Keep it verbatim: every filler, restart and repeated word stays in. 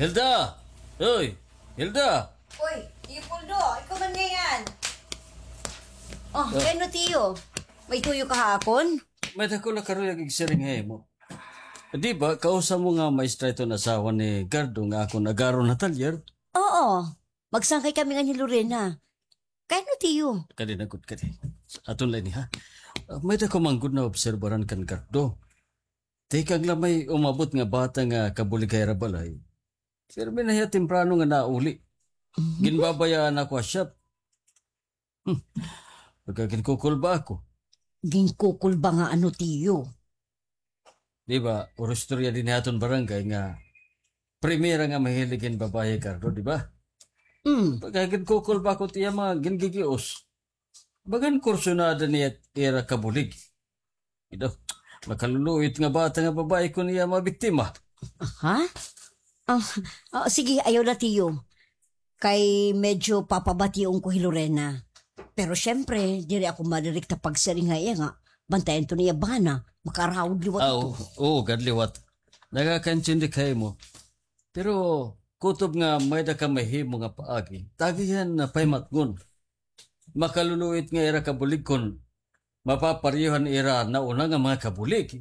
Hilda! Hoy! Hilda! Uy, Leopoldo, ikaw man ngay-an. Oh, ah, kay ano, tiyo? May tuyo ka ha akon? May-ada ko la karuyag igsiring ha imo. Di ba, kausa mo nga maestra iton asawa ni Gardo nga akon agaron ha talyer? Oo. Magsangkay kami ngan hi Lorena. Kay ano, tiyo? Kadi na gud, kadi. Aton la ini, ha? Ah, may-ada ko man gud naobserbaran kan Gardo. Tikang la may umabot nga bata nga kabulig ha ira balay. Pirmi na hiya temprano nga nauli. Mhm. Ginbabayaan ako ha shop. Hmm. Pagka ginkukulba ako. Ginkukulba nga ano, tiyo? Di ba, puro istorya dinhi ha aton barangay nga primera nga mahilig hin babaye, Gardo, di ba? Mm. Pagka ginkukulba ako, tiya, mga gingigios. Bagan kursunada niya ira kabulig. Ito, makaluluit nga bata nga babaye kon iya mabiktima. Ha? Ah, ah, sige, ayaw la, tiyo. Kay medyo papabation ko hi Lorena. Pero siyempre, diri ako madirekta pagsiring ha iya nga bantayan to niya bana, makaraod liwat. Ah, ito. Oo, oo, gad liwat. Nakakaintindi ka ha imo. Pero kutob nga may-ada ka mahimo nga paagi, tagihan na paymatngon. Makaluluit nga ira kabulig kon mapapareho han ira nauna nga mga kabulig.